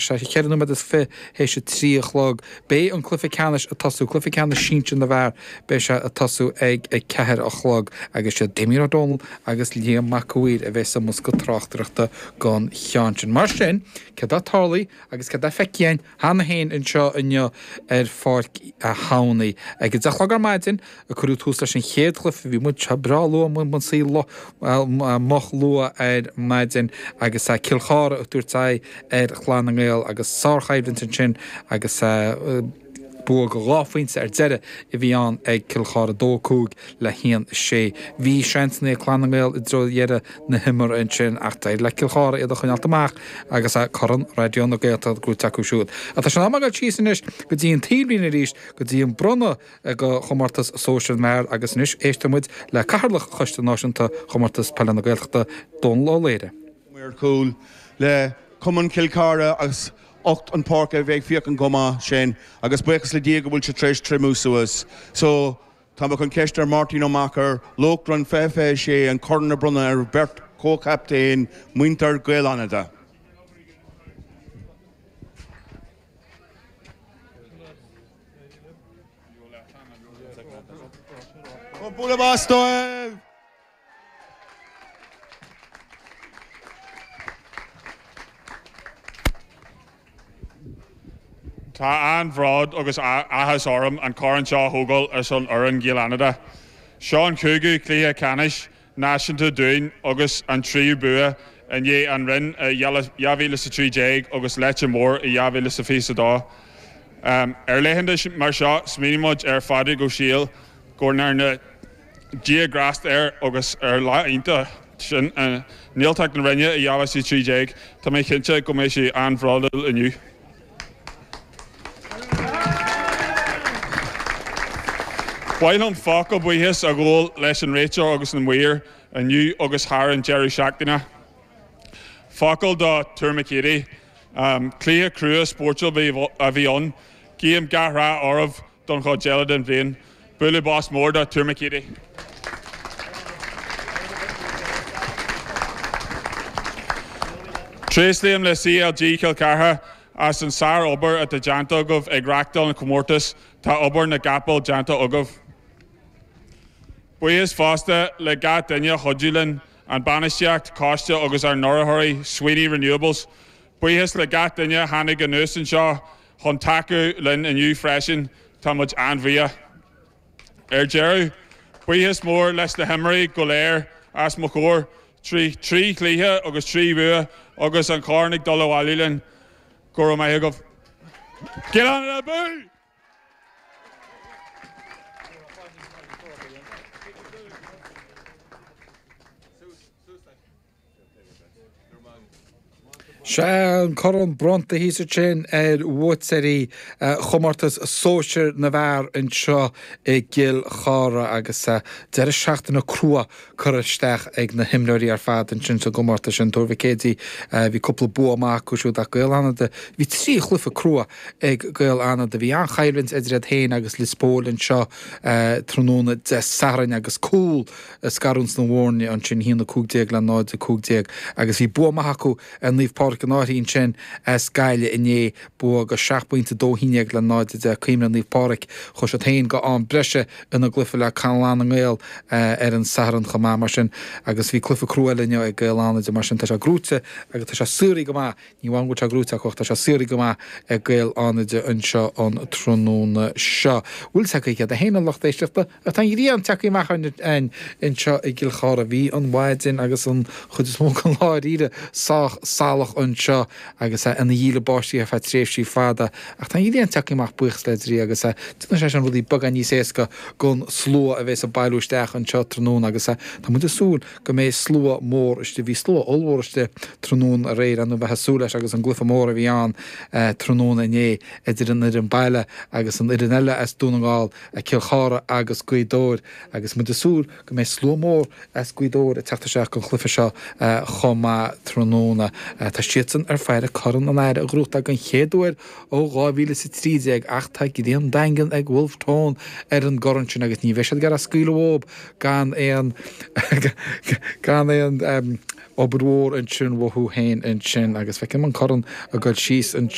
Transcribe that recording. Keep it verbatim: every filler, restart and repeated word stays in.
Ceithre nóiméad is fiche théis a trí a chlog. Beidh an cluiche ceannais ag tosú, cluiche ceannais sinsir na bhfear, beidh sé ag tosú ag a ceathair a chlog agus siad Damien Ó Dónaill agus Liam Mac a' Mhaoir a bheas i mbosca tráchtaireachta don cheann sin. Mar sin, céard atá tarlaithe agus céard atá feicthe againn cheana féin anseo inniu ar Pháirc a' Hamhnaigh? Ag a deich a chlog ar maidin a cuireadh tús leis an chéad chluiche, bhí muid seo breá luath, muid suí moch luath ar maidin agus Cill Chartha ag tabhairt aghaidh ar Chlann na nGael agus sárchoimhlint ansin agus bua de dhá phointe ar deireadh a bhí ann ag Cill Chartha, dó a cúig le haon a sé. Bhí seansanna ag Clann na nGael i dtreo dheireadh na himeartha ansin ach d'éirigh le Cill Chartha iad a choinneáilt amach agus Corn Raidió na Gaeltachta gnóite acu siúd. Ach tá sé in am a ghabháil síos anois go dtí an taobhlíne arís go dtí an bronnadh de chomórtas sóisir na bhfear agus anois éistfidh muid le Cathaoirleach Choiste Náisiúnta Chomórtas Peile na Gaeltachta, Dónal Ó Laoghaire. Maor Cúil le Cumann Chill Chartha agus ucht an pháirc a bheith ag féachaint chomh maith sin agus buíochas le Dia go bhfuil sé tar éis triomú suas. So, tá mé chun ceist ar Máirtín Ó Meachair, Lóchrann fiche fiche sé, an corn a bronnadh ar bheirt chomhchaptaen muintir Gaeil Fhánada. Bualadh bos dóibh! Tá an-bhród agus áthas orm an corn seo a thógáil ar son fhoireann Ghaeil Fhánada. Seo an cúigiú cluiche ceannais náisiúnta dúinn agus an tríú bua i ndiaidh an Rinn i dhá mhíle is a trí déag agus Leitir Móir i dhá mhíle is a fiche a dó. Ar laethanta mar seo smaoinímid ar Phádraig Ó Siadhail go ndearna Dia grásta air agus ar lá iontach sin i nGaeltacht na Rinne i dhá mhíle is a trí déag, tá mé cinnte go mbeidh sé an-bhródúil inniu. Ba mhaith liom focal buíochas a ghabháil leis an réiteoir agus na maoir inniu agus thar an deireadh seachtaine. Focal do Tuar Mhic Éadaigh. Cluiche crua spórtúil a bhí ann. Guím gach rath oraibh don chuid eile den bhliain. Bualadh bos mór do Tuar Mhic Éadaigh. Tréaslaím le CLG Chill Chartha as an sár-obair atá déanta agaibh ag reáchtáil an chomórtais, tá obair na gcapall déanta agaibh. Buíochas fosta le gach duine a chuidigh linn, an bainistíocht, coiste agus ár n-urraitheoirí, Sweeney Renewables. Buíochas le gach duine a tháinig anuas anseo chun tacú linn inniu freisin, tá muid an-bhuíoch. Ar deireadh, buíochas mór leis na himreoirí go léir as mo chomhair, trí trí chluiche agus trí bhua agus an corn ag dul abhaile linn. Go raibh maith agaibh. Gaeil Fhánada abú! Sea, an corn bronnta thíos ansin ar bhuaiteoirí chomórtas sóisir na bhfear anseo i gCill Chartha agus deireadh seachtaine crua curtha isteach ag na himreoirí ar fad ansin sa gcomórtas sin. Tuar Mhic Éadaigh, bhí cúpla bua maith acu siúd ach Gaeil Fhánada, bhí trí chluiche crua ag Gaeil Fhánada. Bhí an-choimhlint idir iad féin agus Lios Póil anseo tráthnóna Dé Sathairn agus cúl a scarúint na bhfoirne ansin, a haon a cúig déag le náid a cúig déag, agus bhí bua maith acu ar Naomh Pádraig an Fhairche ansin as Gaillimh inné, bua de seacht bpointe, dó haon déag le náid a deich. Cuimhnigh Naomh Pádraig, chuaigh siad féin go am breise ina gcluiche le Clann na nGael ar an Satharn chomh maith, mar sin, agus bhí cluiche crua eile inniu ag Gaeil Fhánada, mar sin tá sé gnóite agus tá sé saothraithe go maith. Ní amháin go bhfuil sé gnóite acu ach tá sé saothraithe go maith ag Gaeil Fhánada anseo an tráthnóna seo. Bhfuil a fhios agaibh céard é féin a lucht éisteachta ach tá an ghrian tagtha amach againn anseo i gCill Chartha. Bhí an mhaidin agus an chuid is mó den lá dáiríre sách salach anseo agus é ina dhíle báistí ar feadh tréimhsí fada ach tá an ghrian tagtha amach buíochas le Dia agus déanann sé sin rudaí beagán níos éasca don slua a bheas ag bailiú isteach anseo tráthnóna agus tá muid ag súil go mbeidh slua mór istigh. Bhí slua ollmhór istigh tráthnóna aréir, ar ndóigh bheifeá ag súil leis agus an gcluiche mór a bhí ann tráthnóna inné idir an fhoireann baile agus an fhoireann eile as Dún na nGall, Cill Chartha agus Gaoth Dobhair agus muid ag súil go mbeidh slua mór as Gaoth Dobhair ag teacht isteach don chluiche seo chomh maith tráthnóna. Tá siadsan ar fáire Corn an Aire a ghnóthachtáil den chéad uair ó dhá mhíle is a trí déag ach tá greim daingean ag Wolfe Tone ar an gcorn sin agus ní bheidh siad ag iarraidh scaoileadh uathu gan aon gan aon Obair mhór ansin uathu féin ansin agus feicim an corn ag dul síos an